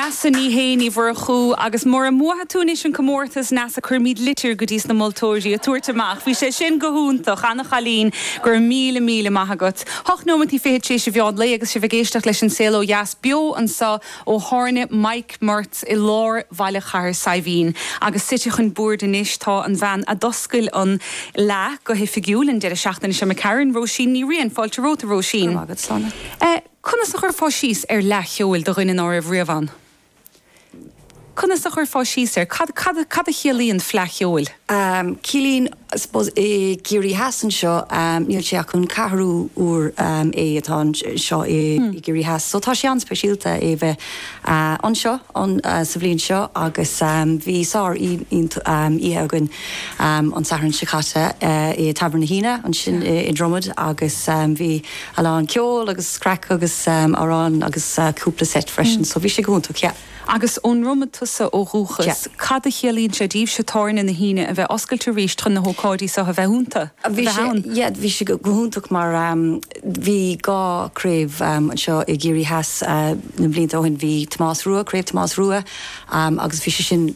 Neasa Ní Shé Ní Mhurchú agus mura mbuafaidh tú anois an comórtas, Neasa, cuirfimid litir go dtí sna moltóirí a tabhairt amach. Bhí sé sin go hiontach. Ana-chailín. Go raibh míle míle maith agat. Hocht nóimeataí fichead tar éis an mheán lae agus sibh ag éisteacht leis An Saol Ó Dheas beo anseo ó thábhairne Mike Murt i lár bhaile Chathair Saidhbhín. Agus suite chun boird anois tá an bhean a d'oscail an Fhleadh go hoifigiúil an deireadh seachtaine seo imigh tharainn, Róisín Ní Riain. Fáilte romhat, a Róisín. Go raibh maith agat, Sláine. Conas a chuirfeá síos ar Fhleadh Cheoil do dhuine ná raibh riamh ann? Conas a chuirfeá síos air? Cad, cad, cad a chiallaíonn Fleadh Cheoil? Ciallaíonn, I suppose, i gCiarraí Theas anseo, níl sé ach an ceathrú uair é atá anseo i gCiarraí Theas. So tá sé an-speisialta é bheith anseo sa bhliain seo agus bhí sár oíche againn an Satharn seo caite i Tavern na hAoine ansin i Dromod agus bhí a lán ceol agus craic agus amhráin agus cúpla set freisin so bhí sé go hiontach, yeah. Agus ón nDromad tusa ó dhúchas, Yeah. cad a chiallaíonn sé daoibhse tábhairne na hAoine a bheith oscailte arís chun na hócáidí seo a bheith iontu, a Bhí bheith sé, ann? yeah, bhí sé go hiontach mar bhí dhá chraobh anseo i gCiarraí Theas na blianta ó shin. Bhí Tomás Rua, Craobh Tomás Rua agus bhí sé sin.